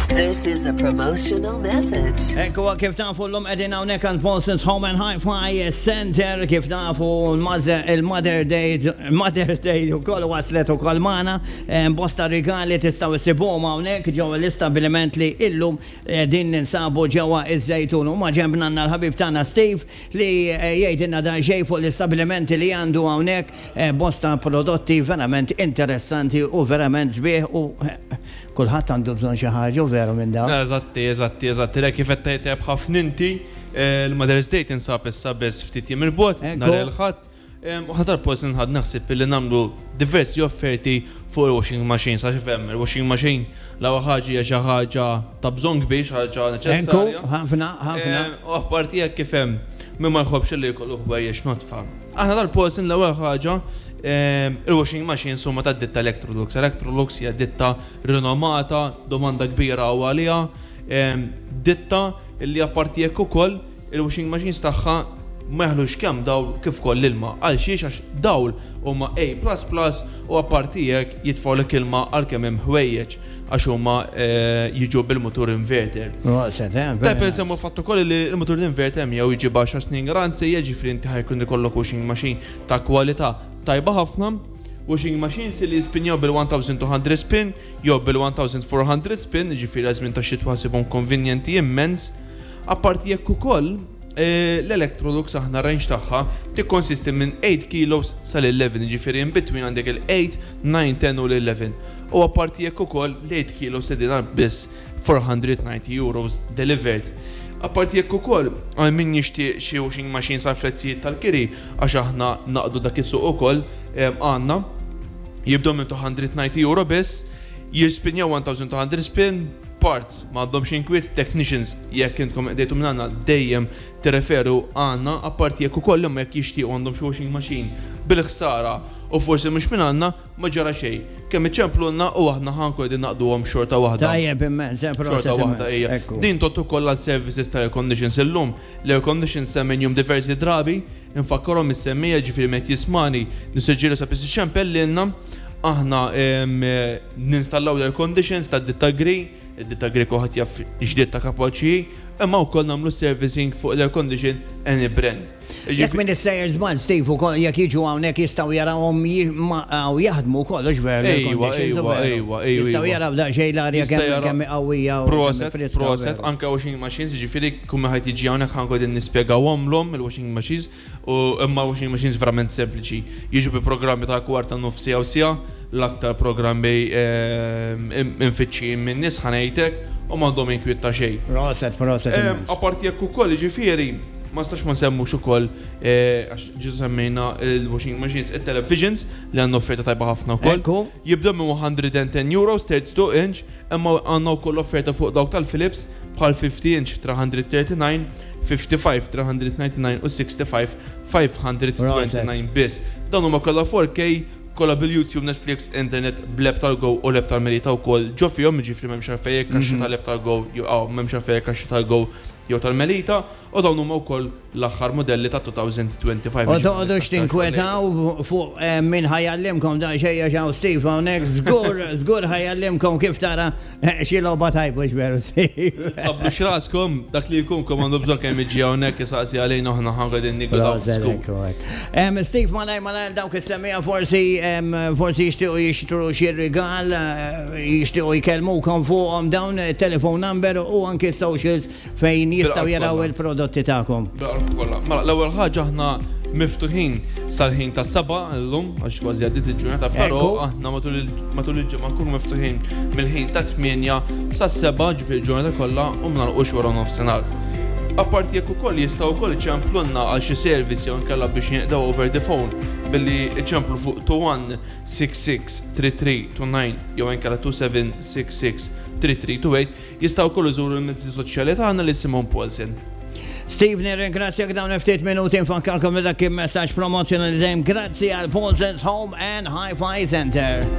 This is a promotional message. Ekku kif tafu l-lum edin hawnhekk għand Paulson's Home and Hi-Fi Center kif tafu il-Mother Day Mother Day ukoll waslet ukoll magħna bosta rigali tistgħu issibuhom hawnhekk ġewwa l-istabbiliment li illum din ninsabu ġewwa iż-Żejtun u ma' ġenbna għandna l-ħabib tagħna Steve li jgħidilna daqsxejn fuq l-istabbilimenti li għandu hawnhekk bosta prodotti verament interessanti u verament sbieħ u Kulħadd għandu bżonn xi ħaġa, u veru minn dawn. Eżatti, eżatti, eżatti. Le kif qed tgħid tajjeb ħafna inti, il-Mother's Day tinsab issa biss ftit jiem 'il bogħod, nhar il-Ħadd. U aħna tal-Post inħadd naħseb illi nagħmlu diversi offerti fuq il-washing machines għax ifhem, il-washing machine l-ewwel ħaġa hija xi ħaġa ta' bżonn kbir, xi ħaġa neċessarja. Ekku, ħafna, ħafna. U apparti hekk kif hemm min ma jħobbx illi jkollu ħwejjeġ nodfa. Aħna tal-Posen l-ewwel ħaġa il-washing machines huma tad-ditta Electrolux. Electrolux hija ditta rinomata, domanda kbira hawn għaliha, ditta li apparti hekk ukoll il-washing machines tagħha ma jaħlux kemm dawl kif ukoll ilma. Għal xiex? Għax dawl huma A plus plus u apparti hekk jitfgħulek ilma għal kemm hemm ħwejjeġ. Għax huma jiġu bil-mutur inverter. Proset, eh? Tajb insemmu l-fatt ukoll li l-mutur inverter miegħu jiġi b'għaxar snin garanzija, jiġifieri inti ħa jkun ikollok washing machine ta' kwalità tajba ħafna. Washing machines li jispinjaw bil-1200 spin jew bil-1400 spin, jiġifieri għaż-żmien tax-xitwa ħasibhom konvenjenti immens. Apparti hekk ukoll, l-Electrolux aħna r-range tagħha tikkonsisti minn 8 kilos sal-11, jiġifieri in between għandek il-8, 9, 10 u l-11. U apparti hekk ukoll l-8 kilos qegħdin għal biss €490 delivered. Apparti hekk ukoll għal min jixtieq xi washing machines għal prezzijiet tal-kiri għax aħna naqdu dak is-suq ukoll għandna jibdew minn €290 biss, jispinjaw 1200 spin, parts m'għandhomx inkwiet, technicians jekk intkom qdejtu minn għandna dejjem tirreferu għandna, apparti hekk ukoll imma jekk jixtiequ għandhom xi washing machine bil-ħsara u forsi mhux minn għandna, Ma ġara xejn. Kemm iċemplulna u aħna ħa nkunu qegħdin naqduhom xorta waħda. Tajjeb immens, eh, proset Xorta waħda hija. Ekku. Din tgħodd ukoll għal services ta' air conditions illum. L-air conditions semmejnihom diversi drabi, infakkarhom is-semmiegħa jiġifieri min qed jismagħni nissuġġeri sabiex iċempel lilna. Aħna ninstallaw l-air conditions tad-ditta Gree, id-ditta Gree kulħadd jaf x'ditta kapaċi hi, imma wkoll nagħmlu servicing fuq l-air condition any brand. Jekk min issejjer żball Steve ukoll jekk jiġu hawnhekk jistgħu jarawhom u jaħdmu wkoll hux veru l-air conditions u veru. Ejwa, ejwa, Jistgħu jaraw daqsxejn l-arja kemm kemm hi qawwija u kemm hi friska. Proset, anke washing machines, jiġifieri kull min ħadd jiġi hawnhekk ħa nkun qegħdin nispjegawhomlhom il-washing machines u imma washing machines verament sempliċi. Jiġu bi programmi ta' kwarta, nofs siegħa u siegħa, l-aktar programmi imfittxijin min-nies ħa ngħidlek u m'għandhom inkwiet ta' xejn. Proset, proset immens. Apparti hekk ukoll jiġifieri Ma nistax ma nsemmux ukoll, għax ġisu semmejna il-washing machines, it-televisions li għandna offerta tajba ħafna wkoll. Ekku. Jibdew minn 110 euros, 32 inch, imma għandna wkoll offerta fuq dawk tal-Philips bħal 50 inch 339, 55 399 u 65 529 biss. Dawn huma kollha 4K, kollha bil-YouTube, Netflix, internet, bl-app tal-Go u l-app tal-Melita wkoll ġo fihom, jiġifieri m'hemmx għalfejn hekk kaxxa tal-app tal-Go jew m'hemmx għalfejn hekk kaxxa tal-Go jew tal-Melita. U dawn huma wkoll l-aħħar mudelli ta' 2025. U toqgħodux tinkwetaw fuq min ħa jgħallimkom daqsxejn għax hawn Steve hawnhekk żgur żgur ħa jgħallimkom kif tara xi logħba tajba hux veru Steve? Tħabblux raskom, dak li jkun kemm għandu bżonn kemm jiġi hawnhekk isaqsi għalina u aħna ħa qegħdin niggwidaw żgur. Steve malajr malajr dawk is-semmiegħa forsi forsi jixtiequ jixtru xi rigal, jixtiequ jkellmukom fuqhom dawn it-telephone number u anki s-socials Fejn jistgħu jaraw il-prodotti tagħkom? Bil-qalb kollha. Mela, l-ewwel ħaġa aħna miftuħin sal-ħin tas-sebgħa llum, għax kważi għaddiet il-ġurnata, però aħna matul il-ġimgħa nkunu miftuħin mill-ħin tat-tmienja sas-sebgħa, ġifieri l-ġurnata kollha, u ma nagħlqux wara nofsinhar. Apparti jekk ukoll jistgħu wkoll iċemplulna għal xi service jew inkella biex jinqdew over the phone billi iċemplu fuq 21663329 jew inkella 27663328. Jistgħu wkoll iżuru l-mezzi soċjali tagħna li isimhom Paulsen. Steve nirringrazzjak dawn il-ftit minuti nfakkarkom li dak kien messaġġ promozzjonali dejjem grazzi għal Paulsen's Home and Hi-Fi Center.